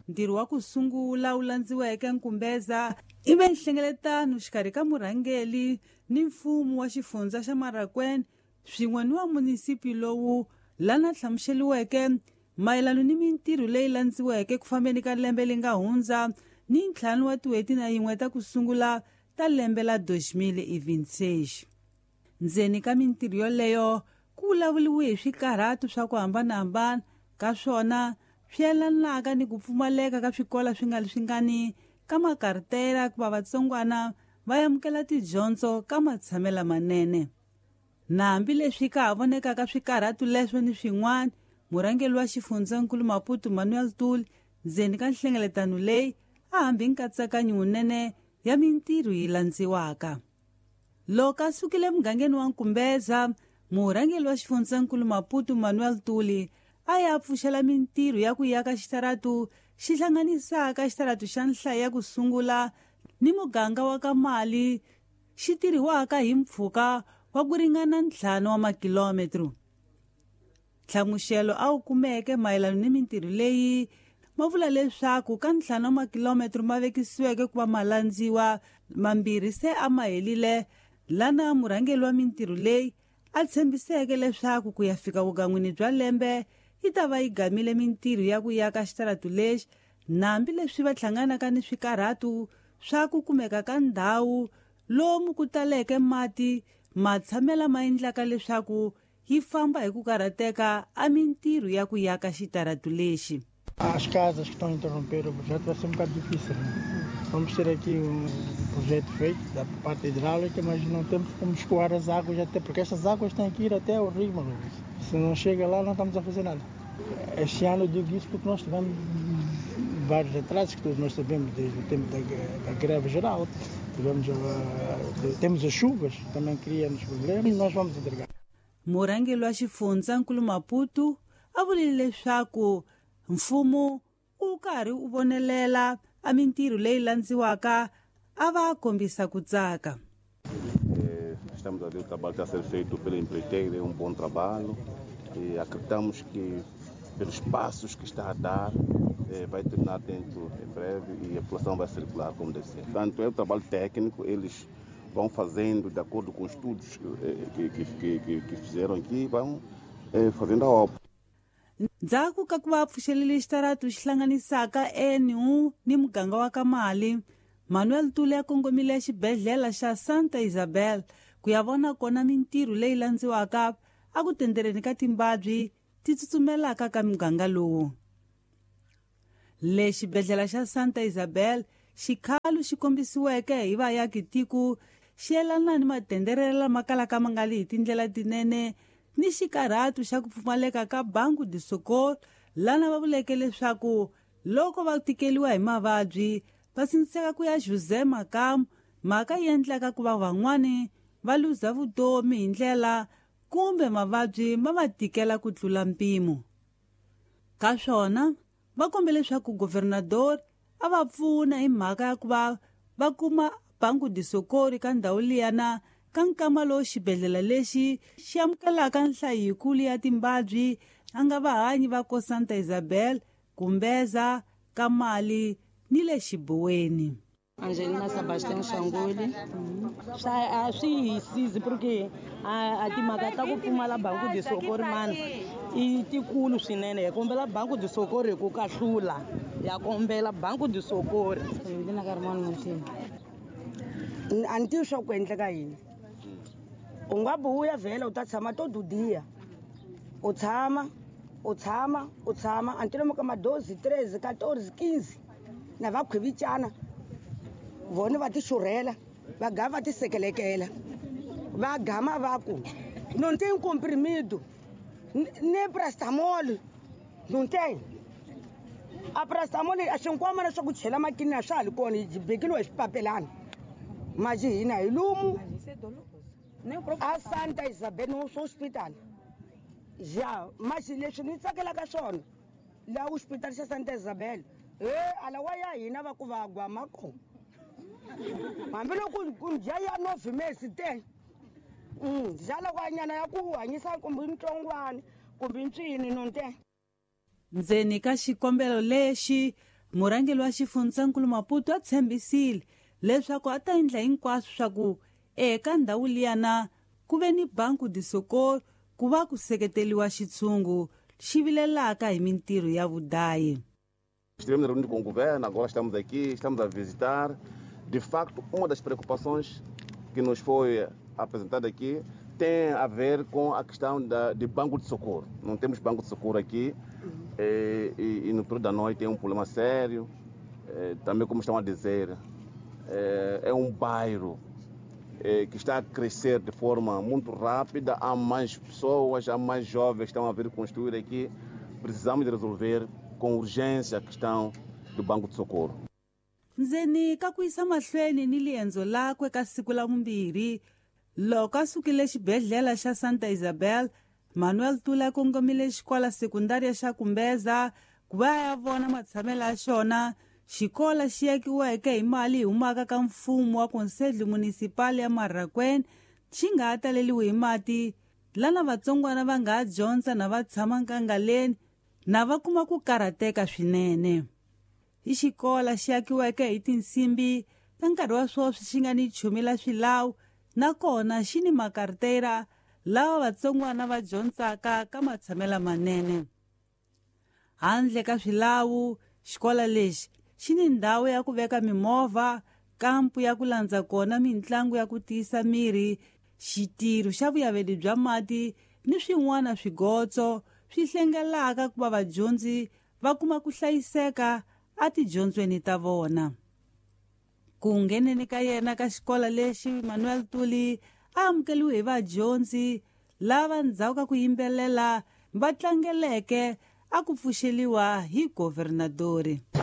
Ntirho wa ku sungula wu landziweke Nkumbeza i ve nhlengeletano xikarhi ka murhangeli ni mfumo wa xifundza xa Marakwene swin'we ni wa munisipi lowu lana hlamuseliweke mayelano ni mintirho leyi landziweke ku fambeni ka lembe leri nga hundza ni ntlhanu wa tin'hweti na yin'we ta ku sungula ta lembe la 2026. Ndzeni ka mintirho yoleyo ku vulavuriwe hi swikarhatu swa ku hambanahambana ka swona swi yelanaka ni ku pfumaleka ka swikola swi nga ri swingani ka makartera ku va vatsongwana va amukela tidyondzo ka matshamelo manene. Na hambileswi ka ha vonekaka swikarhatu leswo ni swin'wana, murhangeri wa xifundzankulu Maputo Manuel Tuli ndzeni ka nhlengeletano leyi a hambi nkatsakanyo wunene ya mintirho yi landziwaka. Loko a sukile emugangeni wa Nkumbeza, murhangeri wa xifundzankulu Maputo Manuel Tuli a ya pfuxela mintirho ya ku yaka xitaratu xi hlanganisaka xitaratu xa nhlayo ya ku sungula ni muganga wa ka Mali xi tirhiwaka hi mpfhuka wa ku ringana 5 wa makilometro. Nhlamuxelo a wu kumeke mayelana ni mintirho leyi ma vula leswaku ka 5 wa makilometro ma vekisiweke ku va ma landziwa, mambirhi se a ma helile, lana murhangeri wa mintirho leyi a tshembiseke leswaku ku ya fika vugan'wini bya lembe yi ta va yi gamile mintirho ya ku yaka xitaratu lexi, na hambileswi va hlanganaka ni swikarhatu swa ku kumeka ka ndhawu lomu ku taleke mati matshamela ma endlaka leswaku yi famba hi ku karhateka a mintirho ya ku yaka xitaratu lexi. As casas que estão a interromper o projeto vai ser um bocado difícil, né? Vamos ter aqui um projeto feito da parte hidráulica, mas não temos como escoar as águas, até porque essas águas têm que ir até o rio Malusi. Se não chega lá, não estamos a fazer nada. Este ano eu digo isso porque nós tivemos vários atrasos que todos nós sabemos desde o tempo da greve geral. Temos as chuvas, também criam-nos problemas e nós vamos entregar. Murhangeri wa xifundzankulu Maputo a vurile leswaku mfumo wu karhi wu vonelela a mintirho leyi landziwaka a va kombisa ku tsaka. Estamos a ver o trabalho que está a ser feito pela empreiteira, é um bom trabalho e acreditamos que pelos passos que está a dar, vai terminar dentro em breve e a população vai circular como deve ser. Portanto, é um trabalho técnico, eles vão fazendo de acordo com os estudos que fizeram aqui, vão fazendo a obra. Ndzhaku ka ku va pfuxelele xitaratu xi hlanganisaka NU ni muganga wa ka Mali, Manuel Tuli a kongomile xibedhlele xa Santa Isabel ku ya vona kona mintirho leyi landziwaka a ku tendereni ka timbabyi ti tsutsumelaka ka muganga lowu. Le xibedhlele xa Santa Isabel xikhalu xi kombisiweke hi vayaki tiko xi yelana ni matenderelo lama kalaka ma nga li hi tindlela tinene ni xikarhatu xa ku pfumaleka ka Banco de Socorro, lana va vuleke leswaku loko va tikeliwa hi mavabyi va sindziseka ku ya José Makamu, mhaka yi endlaka ku va van'wani va luza vutomi hi ndlela kumbe mavabyi ma va tikela ku tlula mpimo. Ka swona va kombe leswaku governador a va pfuna hi mhaka ya ku va va kuma Banco de Socorro ka ndhawu liyana ka nkama lowu xibedhlele lexi xi amukelaka nhlayo yikulu ya timbabyi a nga vahanyi va ko Santa Isabel, Kumbeza, ka Mali ni le Xibuweni. Angelina Sebastian Shanguli. Swa swi hi sizi porque a timhaka ta ku pfumala Banco de Socorro mani i tikulu swinene. Hi kombela Banco de Socorro hi ku kahlula, ya kombela Banco de Socorro. Angelina Carmona Montini. A ni tivi swa ku endleka yini. U nga buya vhela u ta tshama to dudiya. U tshama, u tshama, u tshama until mo ka ma 12, 13, 14, 15 na va khwivicana. Vona va ti xurhela, va gama va ti sekelekela. Va gama va ku, não tem comprimido, nem paracetamol, não tem. A paracetamol a xinkwamana swa ku chela makini a swa ha li kona, yi bekiwe hi swipapelana. Maji hina hi lumu. A Santa Isabel no hospital. Ja, maji leswi ni tsakelaka swona laha hospital xa Santa Isabel. Ala wa ya hina va ku va gwama ko. Hambiloko ku dya ya nove mesi te. Dya loko nyana ya ku hanyisa kumbe ntsongwana kumbe ntswini no te. Ndzeni ka xikombelo lexi, Murhangeri wa xifundzankulu Maputo a tshembisile leswaku a ta endla hinkwaswo swa ku eka ndhawu liyana ku ve ni Banco de Socorro ku va ku seketeriwa xitshungu xi vilelaka hi mintirho ya vudayi. Estivemos reunidos com o governo, agora estamos aqui, estamos a visitar. De facto, uma das preocupações que nos foi apresentada aqui tem a ver com a questão de banco de socorro. Não temos banco de socorro aqui e no período da noite é um problema sério. Também, como estão a dizer, é um bairro que está a crescer de forma muito rápida. Há mais pessoas, há mais jovens que estão a vir construir aqui. Precisamos de resolver com urgência a questão do banco de socorro. Ndzeni ka ku yisa mahlweni ni liendzo lakwe ka siku la vumbirhi loko a sukile xibedhlele xa Santa Isabel, Manuel Tuli a kongomile xikola sekundária xa Kumbeza ku va ya vona matshamelo ya xona. Xikola xi akiweke hi mali yi humaka ka mfumo wa Conselho Municipal ya Marracuene xi nga ha taleliwi hi mati, lana vatsongwana va nga ha dyondza na va tshama nkangaleni na va kuma ku karhateka swinene. I xikola xi akiweke hi tinsimbi ta nkarhi wa sweswi xi nga ni chumi la swilawu, nakona xi ni makartera lawa vatsongwana va dyondzaka ka matshamelo manene. Handle ka swilawu, xikola lexi xi ni ndhawu ya ku veka mimovha, kampu ya ku landza kona mintlangu ya ku tiyisa miri, xitirho xa vuyaveli bya mati ni swin'wana swigotso swi hlengelaka ku va vadyondzi va kuma ku hlayiseka etidyondzweni ta vona. Ku ngheneni ka yena ka xikola lexi, Manuel Tuli a amukeliwe hi vadyondzi lava ndzhaku ka ku yimbelela va tlangeleke a ku pfuxeliwa hi governadori.